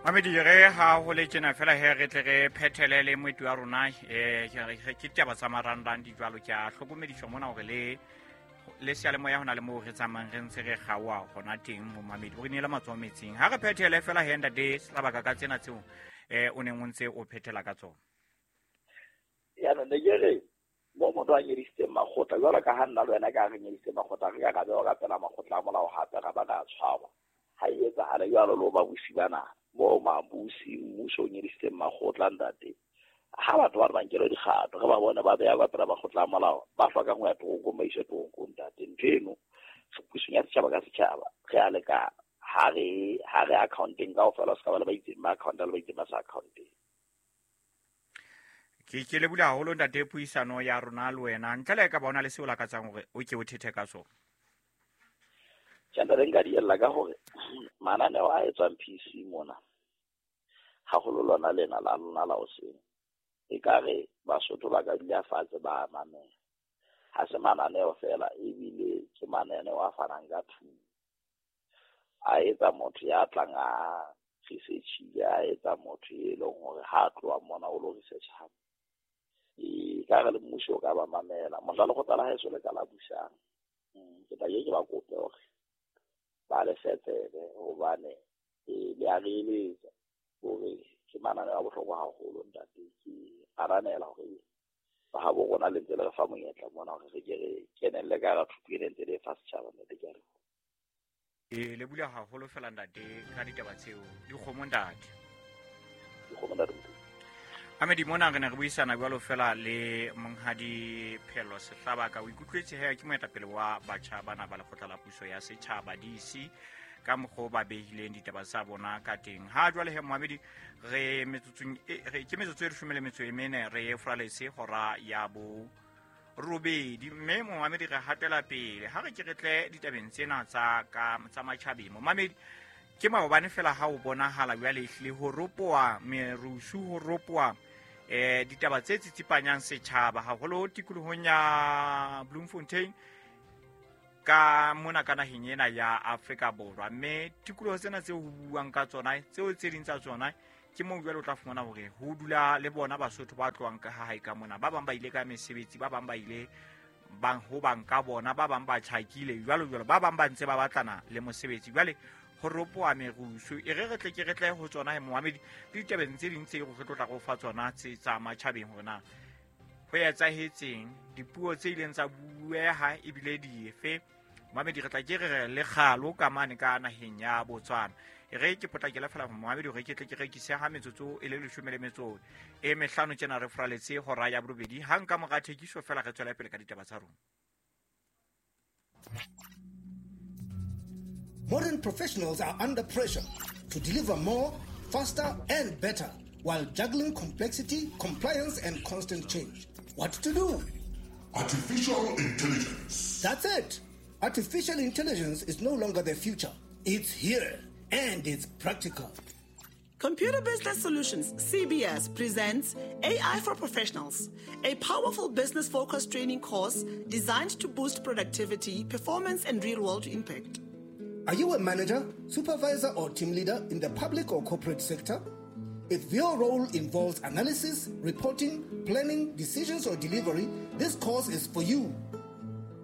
Mamedi re ha ho le tjena fela he re tle re phethele le moeti wa rona um ke taba tsa marangrang di jwalo. Ke a hlokomediswa mona hore le le seyalemoya ho na le moo re tsamayang re ntse re kgaoa hona teng. Momamedi o re neela matsoho metsing ha re phethele fela he ntate Sehlabaka ka tsena tseo o neng o ntse o phethela ka tsona. Yaanong ne ke re mo motho a nyedisitseng makgotla jwalo ka ha nna le wena ka re nyedisitse makgotla, re ka ra bewa ka pela makgotla a molao hape ra ba ra tshwarwa. Ha e etsahale jwalo le ho babusi bana mo mabusi mmuso o nyedisitseng makgotla ntate, ha batho ba re ba nkelwe dikgato re ba bone ba beha ka pela makgotla a molao, ba hlokang ho ya toronkong ba iswe toronkong ntate. Ntho eno pusong ya setjhaba ka setjhaba re a lekana, ha re accounteng kaofela, o se ka ba le ba itseng ba accounta le ba itseng ba sa accounteng. Ke lebula haholo ntate puisano ya rona le wena. Ntle le ka ba ona le seo lakatsang hore o ke o thethe ka sona. Tjhe, ntate, nka diella ka hore mananeo a etswang PC mona, haholo lona lena la lona la hoseng, ekare Basotho ba ka dula fatshe ba mamela. Ha se mananeo fela, ebile ke mananeo a fanang ka thuto. A etsa motho ya tlang a researchile, a etsa motho e leng hore ha a tloha mona o lo research hape. E ka re le mmuso o ka ba mamela. Mohla lekgotla la haeso le ka la busang, ke tla ke ba kope hore ba le fe tsebe, hobane le a re eletsa hore ke mananeo a bohlokwa haholo ntate. Ke ananela hore ba habo rona le ntse le re fa monyetla mona hore re ke re kenelle ka hara thuto e ntse le fa setjhaba ntate. Ke a leboha. E le bula haholo fela ntate ka ditaba tseo. Dikgomo ntate. Dikgomo ntate. Amedi mona re ne re buisana jwalo fela le monghadi Phelo Sehlabaka. O ikutlwetse he ke moetapele wa batjha bana ba lekgotla la puso ya setjhaba DC ka mokgwa o ba behileng ditaba tsa bona ka teng. Ha jwale he moamedi re metsotsong ke metsotso e 14 re furaletse hora ya bo robedi, mme momamedi re hatela pele ha re ke re tle ditabeng tsena tsa ka tsa matjhabeng. Momamedi ke maobane fela ha o bonahala jwale ehlile ho ropoa merusu, ho ropoa ditaba tse tsitsipanyang setjhaba haholo tikolohong ya Bloemfontein ka mona ka naheng ena ya Afrika Borwa. Mme tikoloho tsena tseo ho buang ka tsona tseo tse ding tsa tsona ke moo jwale o tla fumana hore ho dula le bona Basotho ba tlohang ka hae ka mona. Ba bang ba ile ka mesebetsi, ba bang ba ile bang ho bang ka bona, ba bang ba tjhakile jwalo jwalo, ba bang ba ntse ba batlana le mosebetsi. Jwale ho ropoa merusu e re re tle ke re tle ho tsona he moamedi le ditabeng tse ding tse re tlo tla go fa tsona tse tsa matjhabeng hore na ho etsahetseng, dipuo tse ileng tsa bueha ebile dife. Moamedi re tla ke re le kgalo ka mane ka naheng ya Botswana. E re ke potlakele fela moamedi hore ke tle ke rekise ha metsotso e le 15 tjena re furaletse hora ya borobedi. Hang ka mora thekiso fela re tswela pele ka ditaba tsa rona. Modern professionals are under pressure to deliver more, faster, and better while juggling complexity, compliance, and constant change. What to do? Artificial intelligence. That's it. Artificial intelligence is no longer the future. It's here, and it's practical. Computer Business Solutions, CBS, presents AI for Professionals, a powerful business-focused training course designed to boost productivity, performance, and real-world impact. Are you a manager, supervisor, or team leader in the public or corporate sector? If your role involves analysis, reporting, planning, decisions, or delivery, this course is for you.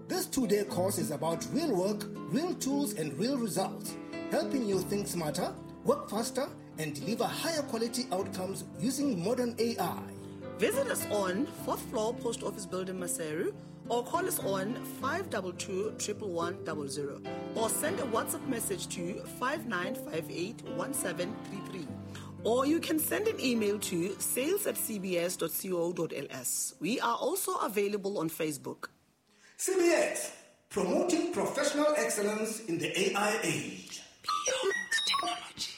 This 2-day course is about real work, real tools, and real results, helping you think smarter, work faster, and deliver higher quality outcomes using modern AI. Visit us on 4th floor Post Office Building, Maseru, or call us on 522 111 00, or send a WhatsApp message to 5958 1733. Or you can send an email to sales@cbs.co.ls. We are also available on Facebook. CBS, promoting professional excellence in the AI age. Beyond technology.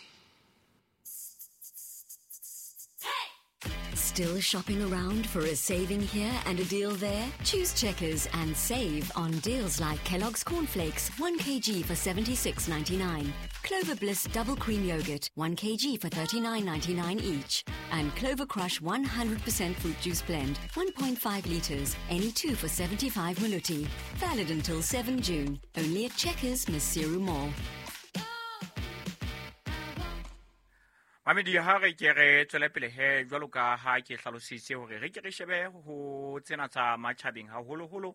Still shopping around for a saving here and a deal there? Choose Checkers and save on deals like Kellogg's Cornflakes, 1 kg for $76.99, Clover Bliss Double Cream Yogurt, 1 kg for $39.99 each, and Clover Crush 100% Fruit Juice Blend, 1.5 litres, any two for 75 maluti. Valid until 7 June, only at Checkers, Maseru Mall. Mamedi, ha re ke re tswele pele he jwalo ka ha ke hlalositse hore re ke re shebe ho tsena tsa matjhabeng, haholoholo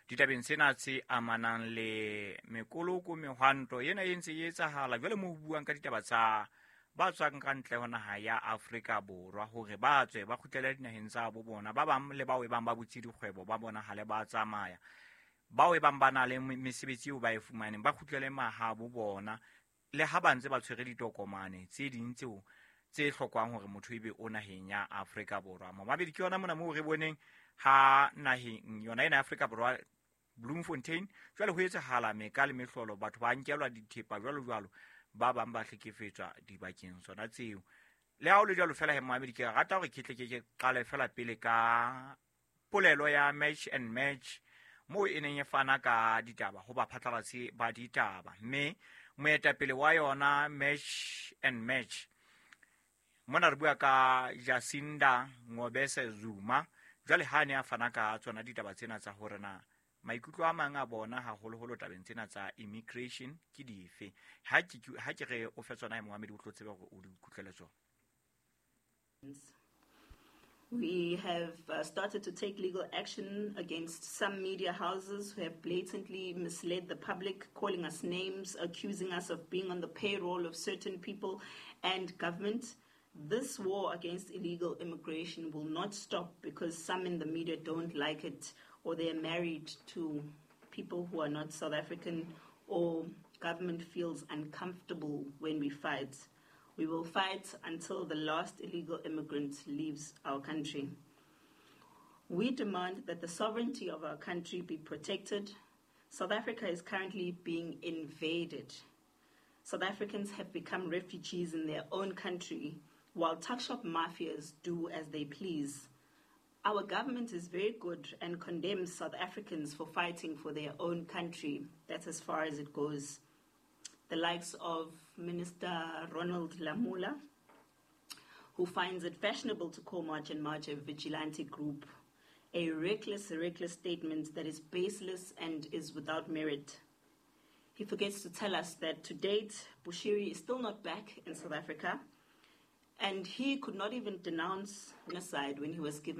ditabeng tsena tse amanang le mekoloko, mehwanto ena e ntse e etsahala jwale mo ho buang ka ditaba tsa ba tswang ka ntle ho naha ya Afrika Borwa hore ba tswe ba kgutlele dinaheng tsa bo bona. Ba bang le bao e bang ba butse dikgwebo ba bonahale ba tsamaya, bao e bang ba na le mesebetsi eo ba e fumaneng ba kgutlele mahabo bona, le ha ba ntse ba tshwere ditokomane tse ding tseo tse hlokwang hore motho ebe o naheng ya Afrika Borwa. Momabedi, ke yona mona moo re boneng ha naheng yona ena ya Afrika Borwa, Bloemfontein, jwale ho etsahala meka le mehlolo, batho ba nkelwa dithepa jwalo jwalo, ba bang ba hlekefetswa dibakeng tsona tseo. Le ha o le jwalo fela he momamedi, ke rata hore ke tle ke qale fela pele ka polelo ya Match and Match moo e neng e fana ka ditaba ho baphatlalatsi ba ditaba, mme moetapele wa yona Match and Match mona re bua ka Jacinda Ngobese Zuma. Jwale ha ne a fana ka tsona ditaba tsena tsa hore na maikutlo a mang a bona haholoholo tabeng tsena tsa immigration ke dife. Ha ke re o fe tsona momamedi, o tlo tsebe hore o di ikutlwele tsona. We have started to take legal action against some media houses who have blatantly misled the public, calling us names, accusing us of being on the payroll of certain people and government. This war against illegal immigration will not stop because some in the media don't like it, or they're married to people who are not South African, or government feels uncomfortable when we fight. We will fight until the last illegal immigrant leaves our country. We demand that the sovereignty of our country be protected. South Africa is currently being invaded. South Africans have become refugees in their own country, while tuckshop mafias do as they please. Our government is very good and condemns South Africans for fighting for their own country. That's as far as it goes. The likes of Minister Ronald Lamola, who finds it fashionable to call March and March a vigilante group, a reckless statement that is baseless and is without merit. He forgets to tell us that to date, Bushiri is still not back in South Africa, and he could not even denounce genocide when he was given